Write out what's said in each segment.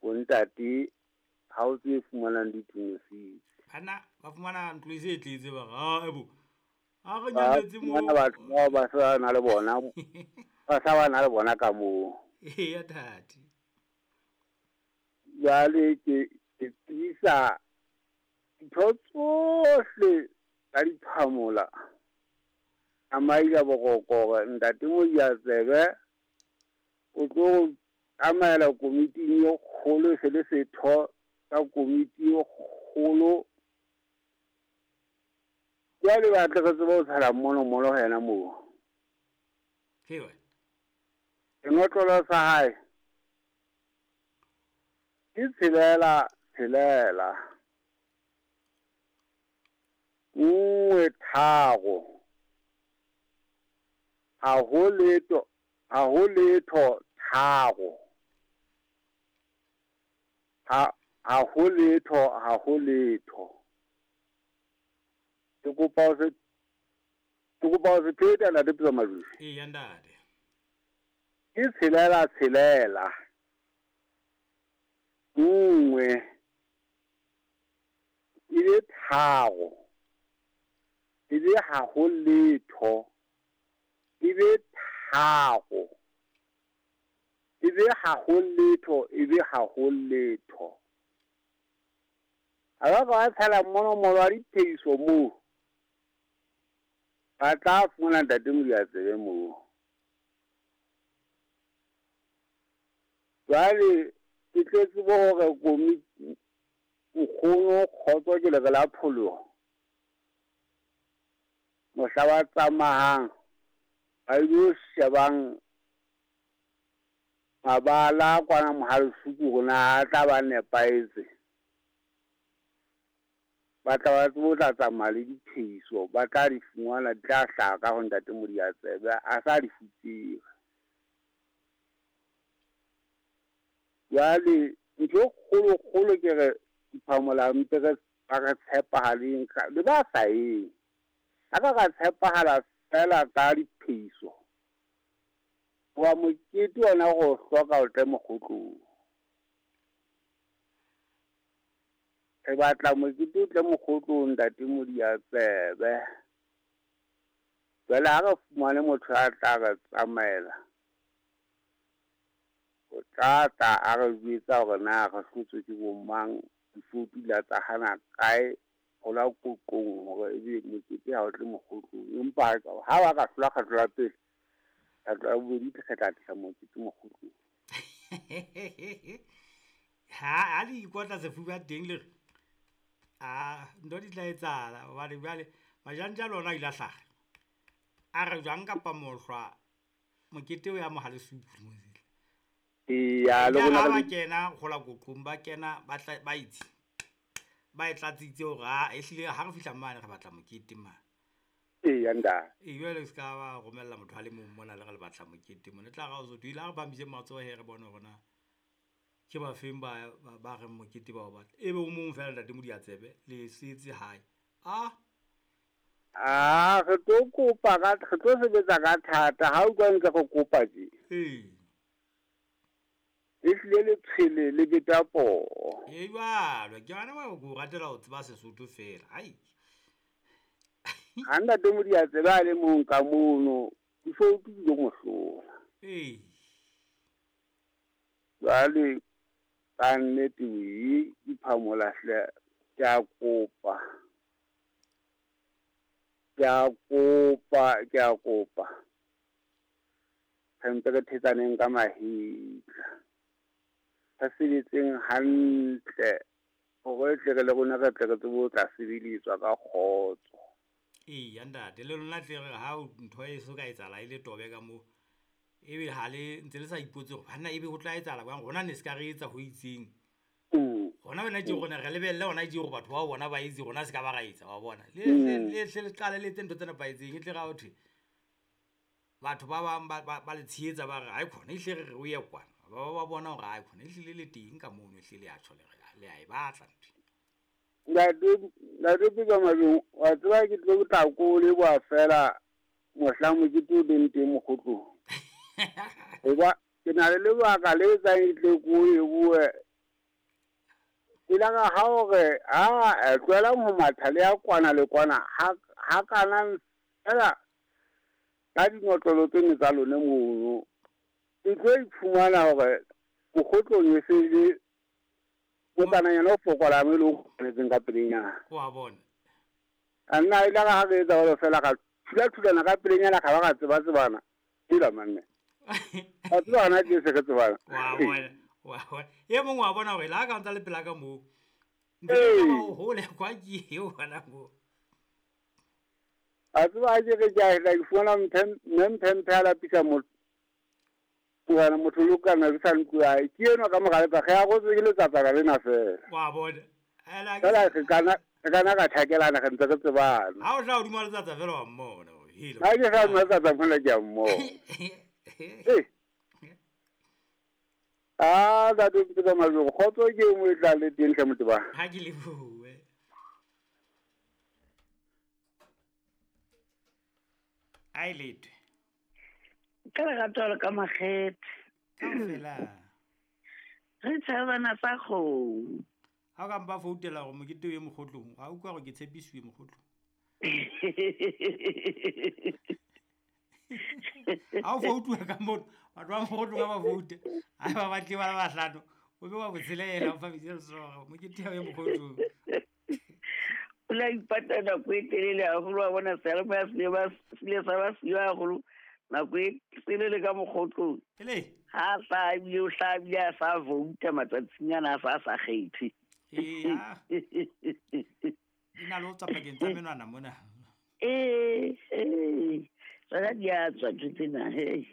Ho ntate ha o tse fumanang ditumisitse. Bana ba fumana ntlo e se e tletse ba re, "Ah, ebo. Ha re Ba nyametse mo." fumana batho bao ba sa na le bona, ba sa ba na le bona ka moo. Eya tate. Jwale ke tsebisa ntho tsohle tsa diphamola. A maila boroko hore ntate Modiantsebe o tlo tsamaela komiting e kgolo, se le setho sa komiti e kgolo. Jwale ba tle re tsebe ho tshela monomolo ho yena moo. He wena. Senotlolo sa hae ke 6 6 1 3. Ha ho letho, ha ho letho 3. Ha ho letho, ha ho letho. Ke kopa ho se pheta ntate Pitso Madusi. Eya ntate. Ke 6 6 1 e le 3 e le ha ho letho e be 3 e be ha ho letho e be ha ho letho. Ha ba ka tshela monomolo wa diphehiso moo, ba tla fumana ntate Modiantsebe moo. Jwale ke tlo tsebe hore komiti nkgono kgotso ke lere la pholoho. Mohla ba tsamayang ba ilo shebang mabala kwana Mohalesuku hore na a tla ba nepahetse. Ba tla ba tsebe ho tla tsamaya le diphehiso, ba tla di fumana, di tla hlaha ka ho ntate Modiantsebe a sa di fupere. Jwale ntho e kgolo kgolo ke re diphamola mpe re ba re tshepahaleng le ba sa eng. Ha ka ka tshepahala fela ka diphehiso. Wa mokete ona go hloka o tle mokgotlong. Re batla mokete o tle mokgotlong ntate Modiantsebe. Jwale ha re fumane motho a tla re tsamaela, o tla tla a re jwetsa hore na re hlotswe ke bo mang, difotu la tsa hana kae, ho la qoqong hore ebe mokete ha o tle mokgotlong. Empa ha ba ka hlola kgetlo la pele, kgetlo la bobedi re tla tlisa mokete mokgotlong. Ha le ikotla sefuba teng le re, a ntho di tla etsahala hobane jwale majantja le ona a ile a hlaha. A re jwang kapa mohlwa mokete o ya Mohalesuku mosele. Eya, le rona ba kena gola qoqong ba kena ba tla ba itse. Ba e tlatsitse hore ha ehlile ha re fihla mane re batla mokete mane. Eya ntate. E jwale se ka ba romella motho a le mong mona le re le batla mokete mona. Tla ra o so ile ha re phamishe matsoho he re bone hore na ke ba feng ba reng mokete ba o batla. Ebe o mong fela ntate Modiantsebe le setse hae. Ah Ah, re tlo kopa ka re tlo sebetsa ka thata ha o utlwa ntse re kopa tje. Ee. E hlile le tshwele le beta poho. E jwalo, ke yona wa go ratela ho tseba Sesotho fela. Ai. Ha ntate Modiantsebe a le mong ka mono, difotu di lo mo hlola. Ee. Jwale ka nnete wee diphamola hle ke a kopa. Ke a kopa, ke a kopa. Re mpe re thetsaneng ka mahetla. Re sebetseng hantle hore tle re le rona re tle re tsebe ho tla sebeletswa ka kgotso. Eya ntate, le lona tle re ha ntho e so ka etsahala e le tobe ka moo. Ebe ha le ntse le sa ipotse hore banna ebe ho tla etsahala jwang, rona ne se ka re etsa ho itseng. Hona wena tje rona re lebelle hona tje hore batho bao bona ba etse, rona se ka ba ra etsa, wa bona. Le hle le qale le etse ntho tse nepahetseng, e tle ra ho thwe batho ba bang ba le tshehetsa ba re hai khona ehlile re re o ye kwana. Ba bona hore hai khona ehlile le teng ka mono, ehlile le a tjho le re le a e batla ntho. Ntate Pitso Majong, wa tseba ke tlo tla ko leboha fela mohlang mokete o leng teng mokgotlong. Hoba ke na le lebaka le etsang ke tle ko lebohe. Ilaka ha hore a tlohela ho matha le ya kwana le kwana ha kana fela ka dinotlolo tsene tsa lone mono. E tlo iphumana hore mokgotlong e se le motsananyana o fokolang e le o kgonetseng ka pelenyana. Wa bona. A nna ilaka ha re etsa jwalo fela ka thula-thulana ka pelenyana ka ba ka tseba-tsebana. Hela manne. A tseba hona ke se re tsebana. Wa bona. Wa bona. E mongwe wa bona hore la ka ntsa le pela ka moo. Ntse ba hole kwa ke eo hona moo. A tseba ha ke re ke a ke fumana mphe a lapisa motho. Ngwana motho lo kana ke sa ntlo ya ke enwa ka mogare tsa ge a go ke letsatsa ka lena fela. Wa bona. Fela re kana ka thakelana re ntse re tsebana. Ha o tla hodimo letsatsa fela wa mmona. Hela. Ha ke sa letsatsa mona ke a mmona. Eh. Ah, da do ke tsamaya go kgotso ke mo e tla le teng tlhe motho ba. Ha ke le bue. Ai lete. Ka lerato le ka makgethe. Kaofela. Re tshabana sa kgomo. Ha o ka mpa foutela gore mokete o ye mokgotlong, ga utlwa gore ke tshepisiwe mokgotlong. Ha o foutuwa ka mono, batho ba mokgotlong ha ba foute, ha ba batle ba le bahlano, o be wa botshelela o fa bitse letsoho, mokete ha o ye mokgotlong. O la ipata nako e telele haholo, wa bona seyalemoya se ile sa ba siyo haholo nako e telele ka mokgotlong. Ele? Ha sa ebile o hla ebile a sa vouta matsatsing ana a sa kgethe. Eya. Di na le ho tswa pakeng tsa menwana mona. Ee, tsona di a tswa ntho tsena, hei.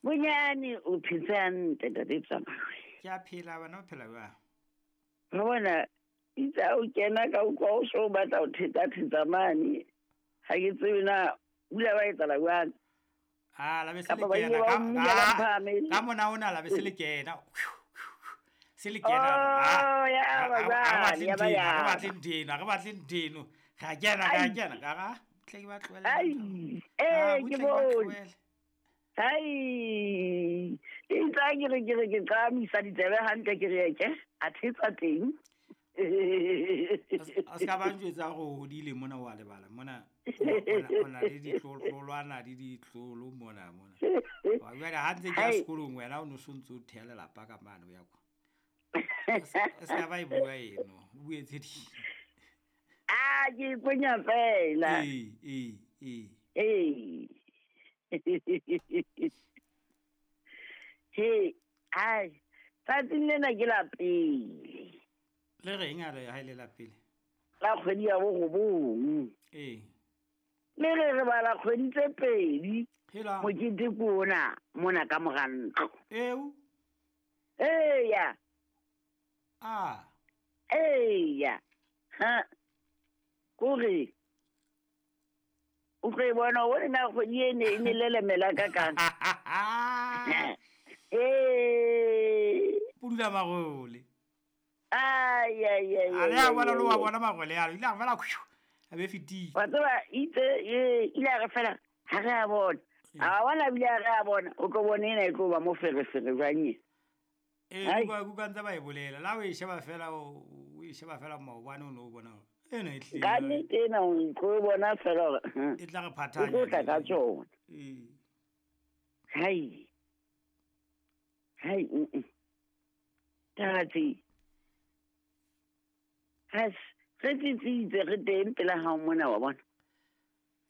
Bonyane o phetse hantle ntate Tsamao. Ke a phela bana, o phela jwang? Re bona itse ha o kena ka utlwa o so o batla ho thetha-thetha mane. Ha ke tsebe na o ile wa etsahala jwang. Ah, la be se le Kapa ba ile kena ba o mmula ba mphame. ka mona ona la be se le kena. Se le kena. Oh, ya ba jwale, ya ba ya. Re batle ntho eno, re batle ntho eno. Ra kena, ra kena, ka ra tle ke ba tlohele. Ai, ke bone. Ai, itse ha ke re ke re ke qamisa ditsebe hantle ke re ke a thetsa teng. A ska ba njwetsa hore o hodile mona wa lebala mona o na le ditlolwana le ditlolo mona mona. Wa jwale ha ntse ke ya sekolong wena o no so ntse o theha lelapa ka mane o ya kwa. A ska ba e bua eno, o bue tse ding. Ah, ke ikwenya fela. Ee. Ee. He, ai, tsatsing lena ke la pele. Le reng a re ha ile la pele? La kgwedi ya borobong. Ee. Le re re bala kgwedi tse pedi. Hela. Mokete ke ona mona ka mora ntlo. Eo. Eya. Ah. Eya. Ha. Kore. O tlo e bona o bone na kgwedi e ne e ne lelemela ka kang. Ee. Pudula marole. Ai ai ai. A le a bona lo wa bona marole a ile a fela a be fetile. Wa tseba itse ile a re fela ha re a bona. A bona bile a re a bona o tlo bona ena e tlo ba mo ferefere jwang e. Ee, kuka ntse ba e bolela. La o e sheba fela o e sheba fela maobane o no bona. Ena e tlile. Ka nnete ena o tlo bona fela hore e tla re phathanya. O tlo tla ka tsona. Ee. Hai. Hai. Tate. Has re tsitsitse re teng pela hao mona wa bona.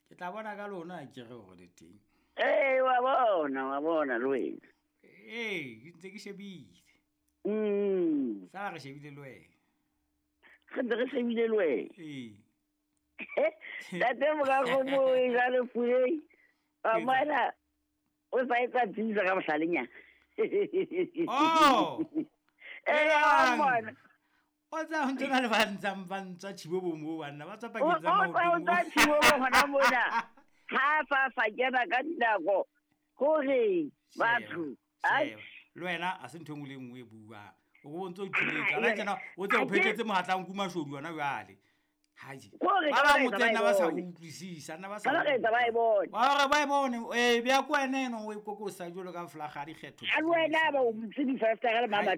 Ke tla bona ka lona ke re hore le teng. Ee, wa bona le wena. Ee, ke ntse ke shebile. Sala re shebile le wena. Re ntse re shebile le wena. Ee. Tate morakgomo e jwale Puleng. Wa bona o sa etsa tsisa ka bohlalenyana. Oh. Ee, wa bona. O tsa ntse na le ba ntsang ba ntswa tshibobo mo banna ba tswa pakeng tsa maoto. O tswa tshibobo hona mona. Ha fa kena ka dinako hore batho ai le wena a se ntho engwe le engwe e buang. O bo ntse o ithuletsa la tsena o tse o phethetse mohatlang kuma shodu yona jwale. Haji. Ba ba motsena ba sa utlwisisa nna ba sa. Ba re ba e bone. Ba re ba e bone. Eh bya kwa ene no o ikokosa jolo ka flaga dikgetho. A le wena ba o motse di fasta ga le mama